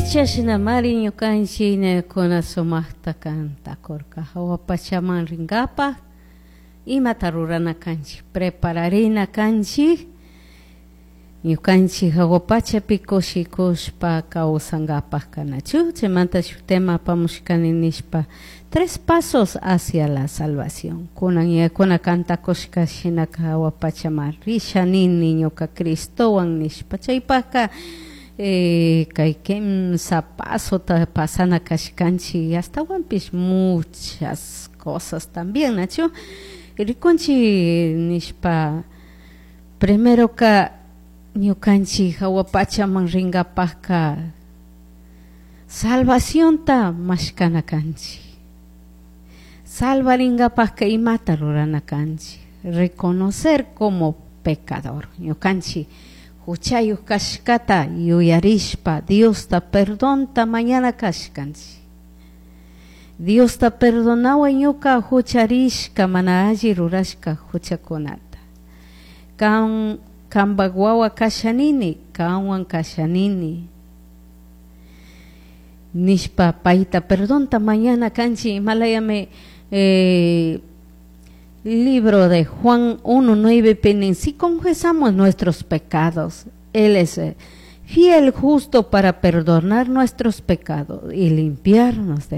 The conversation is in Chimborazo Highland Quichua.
Chashnamari ñukanchik ñakuna sumaqta kantakurka hawa pachaman rinkapaq imata rurana kanchik prepararina kanchik ñukanchik hawa pachapi kushikushpa kawsankapaq kanachu. Chaymanta shuk tema apamushkani nishpa tres pasos hacia la salvación. Kunan yakuna kantakushka shinaka hawa pachaman risha nini ñuka Cristowan nishpa. Chaypaka kay kimsa pasota pasana kashkanchik, astawanpish muchas cosas también, nachu? Rikunchik nishpa, primero ka ñukanchik hawa pachaman rinkapakka salvacionta mashkana kanchik. Salvarinkapakka imata rurana kanchik? Reconocer como pecador. Ñukanchik huchayuq kashkata yuyarishpa Diosta perdonta mañana kashkanchik. Diosta perdonaway ñuka hucharishka mana alli rurashka huchakunata. Kan kanpak wawa kashanini, kanwan kashanini. Nishpa payta perdonta mañana kanchik. Imalayami libro de Juan 1:9 pinin, si confesamos nuestros pecados, Él es fiel, justo para perdonar nuestros pecados y limpiarnos de